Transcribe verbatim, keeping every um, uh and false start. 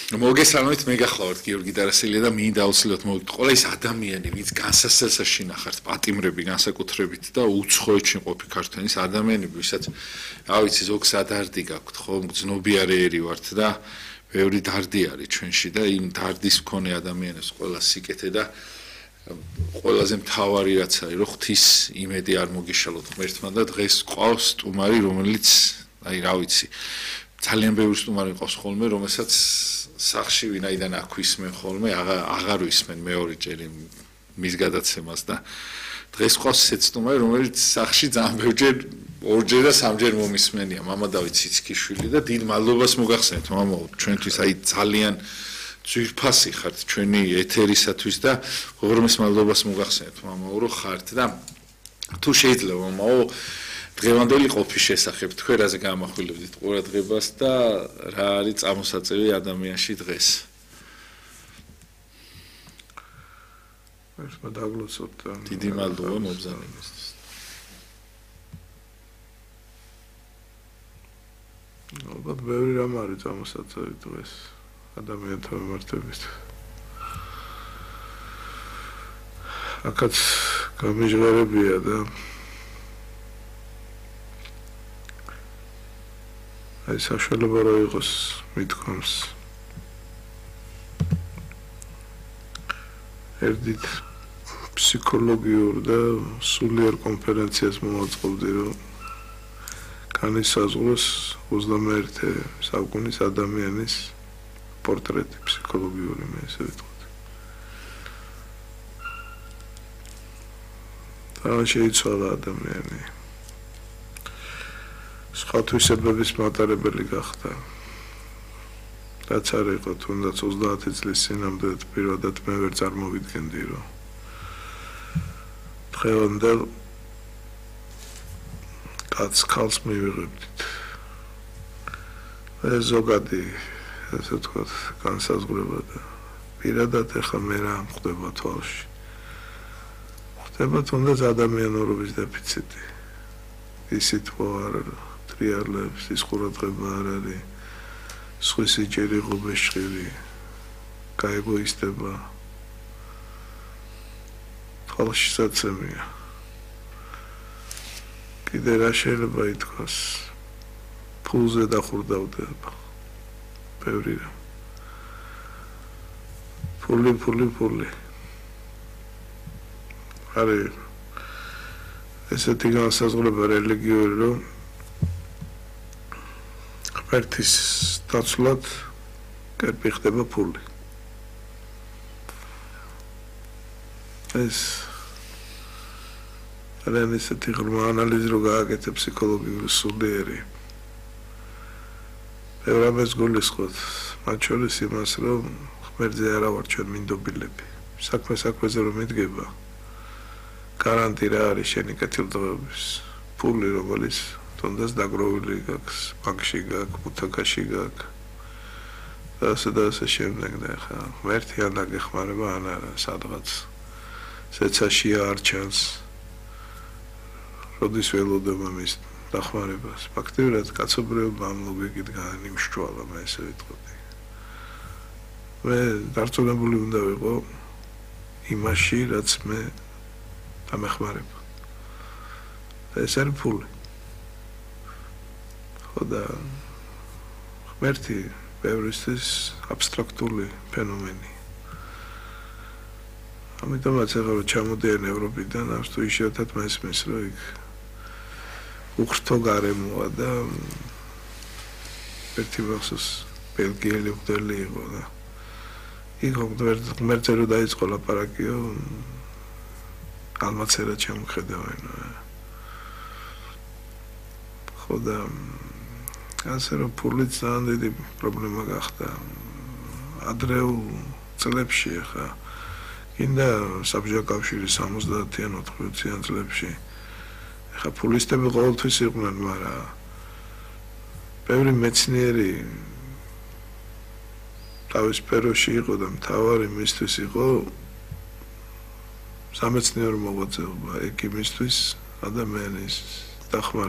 მოგესალმებით, მე გახლავართ გიორგი დარასელია და მინდა აუცილებლად მოვიგეთ ყველა ის ადამიანი, ვინც განსასწრებელს შინახართ პატიმრები განსაკუთრებით და უცხოეთში მყოფი ქართველის ადამიანები, ვისაც რა ვიცი ზოგს ადარდი გაქვთ, ხო, ძნობიარეერი ვართ და ბევრი დარდი არის ჩვენში და იმ დარდის მქონე ადამიანებს ყველა სიკეთე და ყველაზე მთავარი რაც არის, რომ ღვთის იმედი არ მოგიშალოთ ღმერთმა და დღეს ყავს სტუმარი, რომელიც აი რა ვიცი ძალიან ბევრი სტუმარი ყავს ხოლმე, რომელსაც სახში ვინაიდან აქვისმენ ხოლმე, აღარ ვისმენ მეორეჯერ მის გადაცემას და დღეს ყავს ესეც სტუმარი, რომელიც სახში ძალიან ბევრჯერ ორჯერ და სამჯერ მომისმენია, მამა დავით ციცქიშვილი და დიდ მადლობას მოგახსენეთ, მამაო, ჩვენთვის აი ძალიან ძვირფასი ხართ ჩვენი ეთერისათვის და უღრმეს მადლობას მოგახსენეთ, მამაო, რომ ხართ და თუ შეიძლება, მამაო, დღევანდელი ყოფის შესახებ თქვენ რაზე გამახვილებდით ყურადღებას და რა არის წამოსაწევი ადამიანში დღეს? ერთმა დაგლოცოთ და დიდი მადლობა მობრძანებისთვის. ალბათ ბევრი რამ არის წამოსაწევი დღეს ადამიანთა მიმართებით. აქაც გამიჟღერებია და აი საშუალება რა იყოს მithქვამს ერთით ფსიქოლოგიურ და სულიერ კონფერენციას მოვაწყობდი რომ განისაზღვროს ოცდამეერთე საუკუნის ადამიანის პორტრეტი ფსიქოლოგიური მე ესე ვიტყვი და შეიცვალა ადამიანი სხვა თვისებების მატარებელი გახდა. რაც არ იყო თუნდაც ოცდაათი წლის წინამდე პირადად მე ვერ წარმოვიდგენდი რომ დღევანდელ კაცს ქალს მივიღებდით. ეს ზოგადი ესე ვთქვათ განსაზღვრება და პირადად ეხლა მე რა ხდება თვალში. ხდება თუნდაც ადამიანურობის დეფიციტი. ისიც არ რეალებს ის ყურადღება არ არის სხვისი სიჭირი ღობეშხილი გაეგოისტება თვალში საცემია კიდე რა შეიძლება ითქვას ფულზე დახურდავდება ბევრი რამ ფული ფული ფული არის ესეთი განსაზღვრება რელიგიური რომ ერთის დაცვლად კერპი ხდება ფული. ეს რამე ისეთი ღრმა ანალიზი რო გააკეთე ფსიქოლოგიური სულიერი. ბევრ რამეს გულისხმობ, მათ შორის იმას, რომ ღმერთზე არა ვარ ჩვენ მინდობილები. საქმე საქმეზე რომ მიდგება, გარანტი რა არის შენი კეთილდღეობის ფული რომელიც თუნდაც დაგროვილი გაქვს, ბანკში გაქვს, ბუთაკაში გაქვს. და ასე და ასე შემდეგ და ხა ღმერთი ან დაგეხმარება ან არა სადღაც ზეცაში არ ჩანს. როდის ველოდება მის დახმარებას. ფაქტიურად კაცობრიობა ამ ლოგიკით განიმშვალა, მე ესე ვიტყოდი. მე დარწმუნებული უნდა ვიყო იმაში, რაც მე დამეხმარება. ეს არის ფული. და ღმერთი ბევრისთვის აბსტრაქტული ფენომენი. ამიტომაც ახლა რომ ჩამოდიან ევროპიდან, ამ თუ იშვიათად მესმის, რომ იქ უხრთო გარემოა და ერთი მახსოვს ბელგიელი მღვდელი იყო და იქ ღმერთზე რომ დაიწყო ლაპარაკიო ალმაცერა ჩამოხედავენ. ხო და ასე რომ ფული ძალიან დიდი პრობლემა გახდა ადრეულ წლებში ხა კიდე საბჭოთა კავშირის სამოცდაათიან ოთხმოციან წლებში ხა ფულისტები ყოველთვის იყვნენ, მაგრამ ბევრი მეცნიერი თავის სფეროში იყო და მთავარი მისთვის იყო სამეცნიერო მოღვაწეობა ეკიმისთვის ადამიანის დახმარება